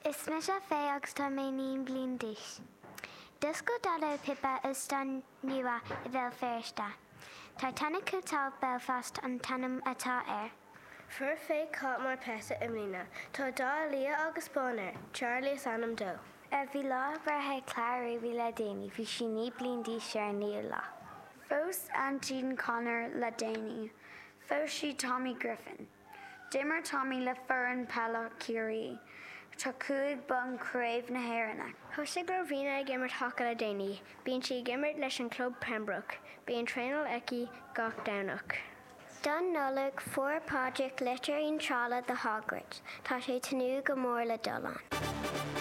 Is mise Faye agus tá mé 9 bliain d'aois. D'oscail Daideo Pippa óstán nua i Bhéal Feirste. Titanic Hotel Belfast an t-ainm atá air. Fuair Faye cat mar pet i mbliana. Tá dath liath agus bán air. Charlie is ainm dó. Bhí lá breithe Clara Ruby le déanaí. Bhí sí 9 bliain d'aois ar an naoú lá. Phós aintín Conor le déanaí. Phós sí Tommy Griffin. D'imir Tommy le foireann peile Chiarraí. Tá 5 bonn Craobh na hÉireann aici. Thosaigh Rowena ag imirt haca le déanaí. Bíonn sí ag imirt leis an club Pembroke. Bíonn traenáil aici gach Domhnach. Don Nollaig, fuair Pádraig litir iontrála do Hogwarts. Tá sé tnúth go mór le dul ann.